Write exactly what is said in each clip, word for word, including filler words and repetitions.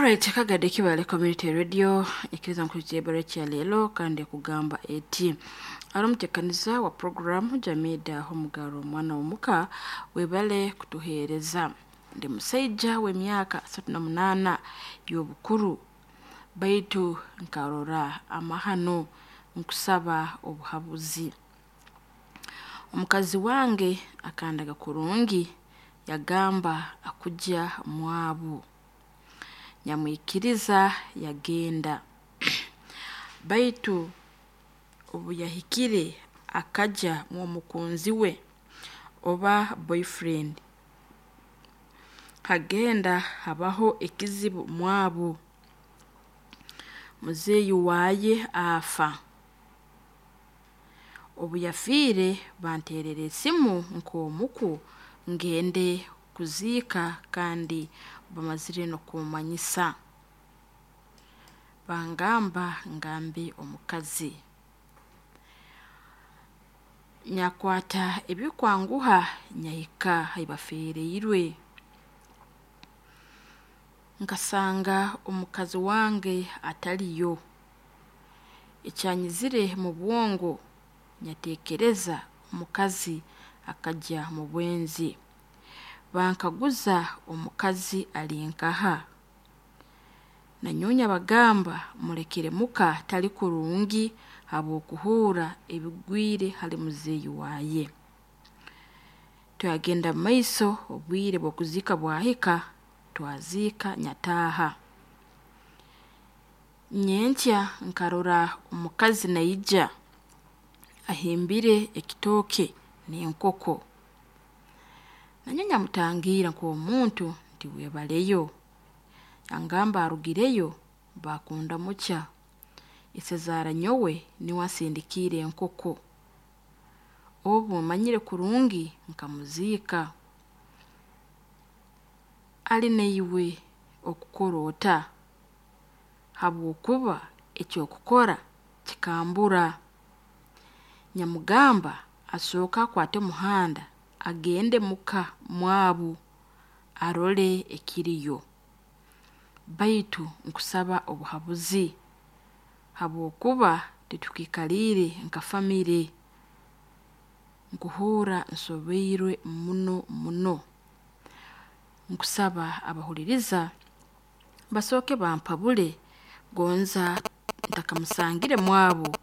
Alright, Kagadi Kibale Community Radio ikiriza nkulitia ya lelo kandi kugamba eti ari omutekaniza wa programu Jamida Homugaro omwana w'omuka webale kutuheereza. Ndi musaija w'emyaka asatu na munaana y'obukuru, baitu nkarora amahano nkusaba obuhabuzi. Omukazi wange akandaga kurungi yagamba akujya mwabu, nyamwikiriza yagenda. Baitu obu yahikire akajya mw'omukunzi we oba boyfriend, hagenda habaho ekizibu mwabu, muzeeyi waaye afa. Obu yafiire banteerera esimu nk'omuku ngende kuziika kandi bamazire n'okummanyisa. Bangamba ngambe omukazi. Nyakwata ebikwanguha nyahika haibafeereirwe. Nkasanga omukazi wange ataliyo. Ekyanyizire mu bwongo nyatekereza omukazi akajya mu bwenzi. Bankaguza omukazi ali nkaha. Nanyowe nyabagamba mulekere muka tali kurungi habw'okuhuura ebigwire hali muzeeyi waaye. Twagenda mumaiso obwire bw'okuziika bwahika twaziika nyataaha. Nyenkya nkarora omukazi naija ahimbire ekitooke n'enkoko. Nanyowe nyamutangiira nk'omuntu nti webaleyo. Yangamba arugireyo bakundamukya. Isezaara nyowe niwe ansindikiire enkoko. Obu mmanyire kurungi nkamuziika. Ali naiwe okukora ota? Habwokuba eky'okukora kikambura. Nyamugamba asooke akwate omuhanda agende muka mwabu arole ekiriyo. Baitu nkusaba obuhabuzi habwokuba titukikaliire nka famire. Nkuhuura nsobeirwe muno muno. Nkusaba abahuliriza basooke bampabule gonza ntakamusangire mwabu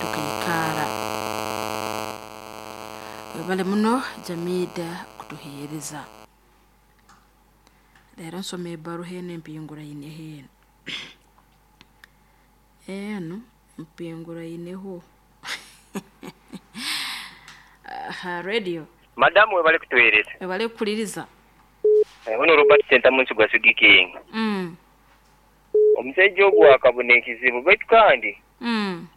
tukaikara. Webale muno Jamida kutuheereza. Leero nsoma ebbaruha enu empinguraineho enu. Enu mpinguraineho. Aha radio. Madamu webale kutuheereza. Webale kukuliriza. Ono Robert Sentamu Nsuga Sugiking. Mm. Omusajja ogwo akabona ekizibu baitu kandi Mm.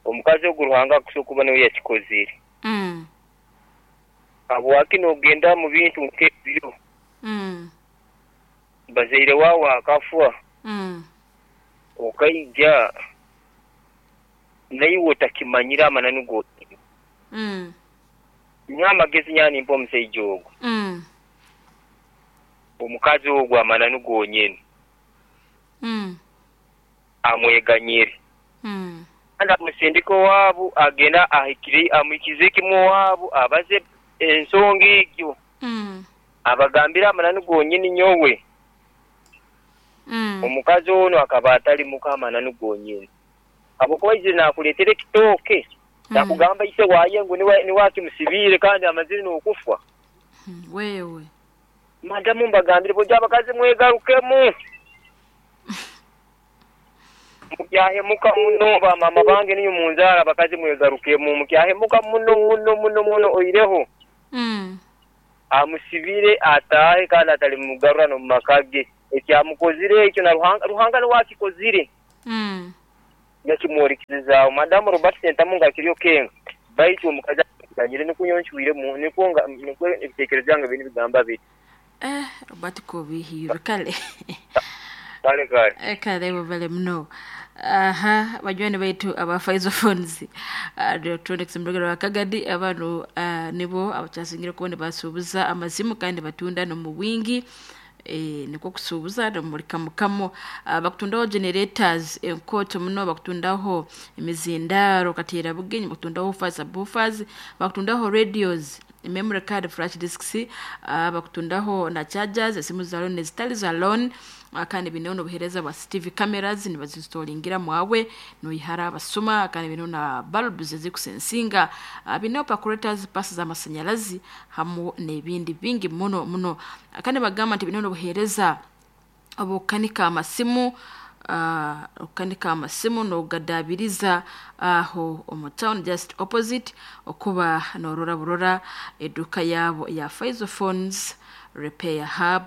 omukazi ogwo Ruhanga akusobola kuba niwe yakikozire. Mm. Habwaki n'ogenda mu bintu nk'ebyo? Mm. Bazaire waawe akafa. Mm. Okaija naiwe otakimanyire amananu gonyini. Mm. Nywa amagezi nyanimpa omusajja ogwo. Mm. Omukazi ogwo amananu gonyini. Mm. Amweganyire. Mm. Kandi amusindike owaabu agenda ahikire amwikize kimu owaabu abaze ensonga egyo. Mm. Abagambire amananu gonyini nyowe. Mm. Omukazi ono akaba atali muka amananu gonyini. Habwokuba aizire naakuleetera ekitooke. Mm. Nakugamba ise waaye ngu niwe niwe akimusibiire kandi amazire n'okufa. Wewe. Madamu mbagambire bojja abakazi mwegarukemu. Mukyahemuka muno bamama bange niyo munzaara abakazi mwegarukemu mukyahemuka muno muno muno muno oireho. Mm. Amusibire ataahe kandi atalimugarura n'omu maka ge. Ekyamukozire ekyo na Ruhanga Ruhanga niwe akikozire. Mm. Yakimworekezaaho. Madamu Robert Sentamu nga akiriyo kenga. Baitu omukazi aganyire nikwo nyowe nikwo nga nikwo ebiteekerezo byange biri nibigamba biti. Eh, Robert kobihiirwe kale. Kale kale. Eh, kale webale muno. Aha, banywani baitu aba Faizo Phones. Uh, electronics murugero wa Kagadi abanu uh, nibo abakyasingire kuba nibasuubuza amasimu kandi batunda n'omu bwingi. E, nikwo kusuubuza nomuri kamukamo. uh, bakutundaho generators enkoto muno, bakutundaho emizindaro kateera bugenyi, bakutundaho subwoofers, bakutundaho radios, memory card, flash disks, uh, bakutundaho na chargers, esimu za loan nezitali za loan. uh, kandi bineho n'obuheereza bwa C C T V cameras nibazinstolingira mwawe noihara abasuma. Kandi bineho na bulbs ezikusensinga, uh, bineho percolators, pasi z'amasanyarazi hamu n'ebindi bingi muno muno. Uh, kandi bagamba nti bineho n'obuheereza obukanika amasimu, uh, okukanika amasimu nogadabiriza aho omu town just opposite okuba norora burora eduka yabo ya Faizo Phones Repair Hub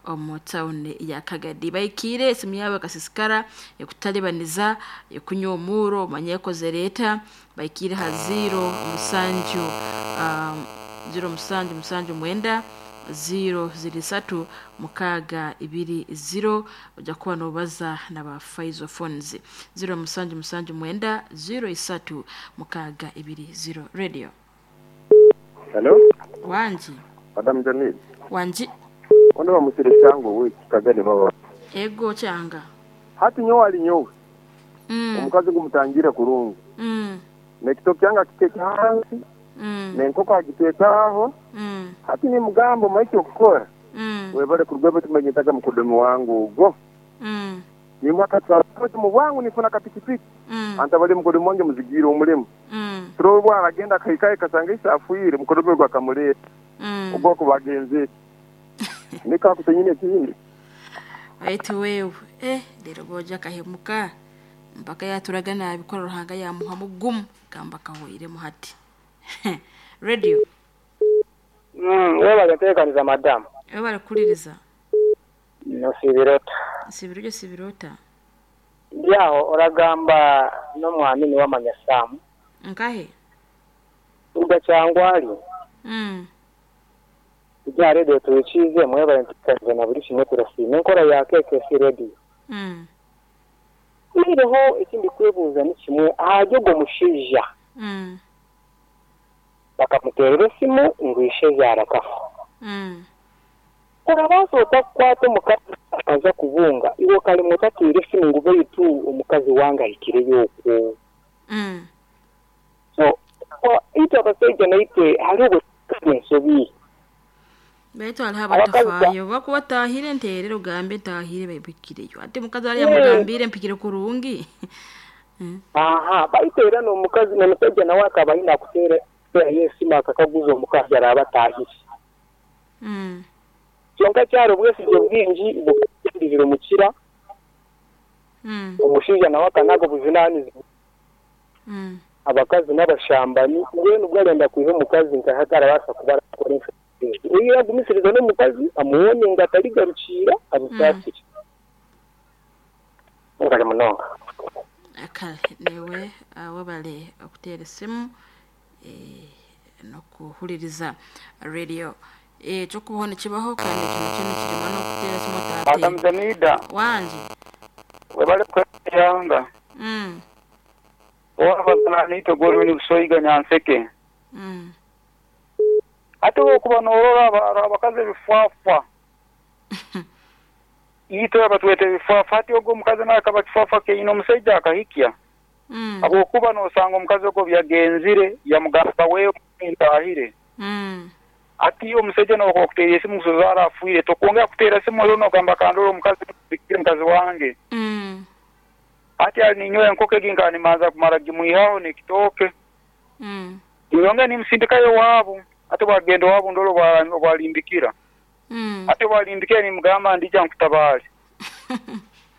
omu town ya Kagadi. Baikire esimu yabo ekasisikara ekutalibaniza ekunywa omuro omanye ekozere eta. Baikire ha zero musanju um, zero musanju musanju mwenda zero ziri satu mukaaga ibiri zero. Ojja kuba nobaza naba Faizo Phones zero musanju musanju mwenda zero isatu mukaaga ibiri zero. Radio. Hello? Wanji. Madam Jamil. Wanji. Ono bamusire cyango we kagane baba. Ego cyanga. Hati nyowe ali nyowe. Mm. Omukazi gumutangira kurungu. Mm. Nekitoki cyanga kiteka hansi. Mm. Nenkoko agitekaho. Mm. Hati ni mugambo maiki okukora. Mm. Webale kurugwebo tumenyetaga mukudomi wangu ugo. Mm. Ni mwaka twa mu bwangu nifuna kapikipiki. Mm. Anta bali mukudomi wange muzigira omulimu. Mm. Turobwa aragenda kaikaye kasanga isafuire mukudomi gwa kamuleta. Mm. Ubwoko bagenzi. Nika kusenyine kindi. Baitu wewe eh lero boja kahemuka mpaka yaturaga nabikora Ruhanga yamuha mugumu gamba kahoiremu hati. Radio. Mm, wewe bagatekaniza madamu. Wewe barakuliriza. No sibirota. Sibiryo sibirota. Byaho oragamba n'omwamini w'amanyasamu. Nkahe? Uga cyangwa ali. Mm. Ijya radio tuyikize mwebale ntikaniza na buri kimwe turasima enkora ya K K C radio. Mm. Iriho ikindi kwebuza ni kimwe ahajyo go mushija. Mm. Bakamuterera esimu ngwishe yarakafa. Mm. Urabazo utakwata omukazi akaza kubunga iwe kali mutatire esimu ngube yitu omukazi wanga ikire yoko. Mm. So ito abasajja naitwe hariho ensobi. Baitu hariho abatafayo bakuba batahire nterero gambe ntahire babikireyo ate mukazi ari yamugambire mpikire kurungi. Aha baitu era n'omukazi n'omusajja nawe akaba ayina kuteera yesimu akakaguza omukazi araba atahire. Mm. Kyonka kyaro bwesigye bwingi bukindizira omukira. Mm. Omushaija nawe akanaga obuvunaanyizibwa. Mm. Abakazi n'abashambani mbwenu bwarenda kwiha omukazi nkahatarabasa kuba arakora ensobi. Oyo yagumisiriza n'omukazi amuwone nga atarigarukira amusaasire. Ngale munonga. Kale newe wabale okuteera esimu eh, n'okuhuliriza radio. Eh, ekyokubaho nikibaho kandi kino kino kirimo n'okuteera esimu otateera. Madam Jamida. Wangi. Webale kweyanga. Mm. Owabazana nito goruni busoyiga nyanseke. Mm. Ate okuba norora abakazi ebifaafa. Ito abatwete ebifaafa ati ogwo omukazi nawe akaba kifaafa keine omusajja akahikya. Mm. Habwokuba nosanga omukazi ogwo byagenzire yamugamba wewe ntahire. Mm. Ati omusajja nawe okuteera esimu kuzozaara afuire tokwongera kuteera esimu rero nogamba kandora omukazi bikire mukazi wange. Mm. Ati ali ninyowe enkoko egi nkanimanza kumara gimwihaho nekitooke. Mm. Niyonge nimusindikayo waabo. Ate bwagenda waabo ndolo bwalimbikira. Mm. Ate bwalimbikira nimugamba ndija nkutabaale.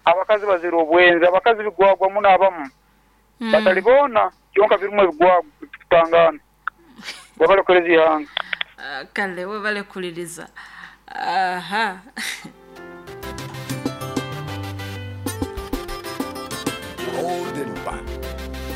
Abakazi bazira obwenzi, abakazi bigwagwa muno abamu. Mm. Batalibona kyonka birimu ebigwagwa kutangana. Wabale ihanga. Uh, kale webale kuliriza. Aha. Holding back.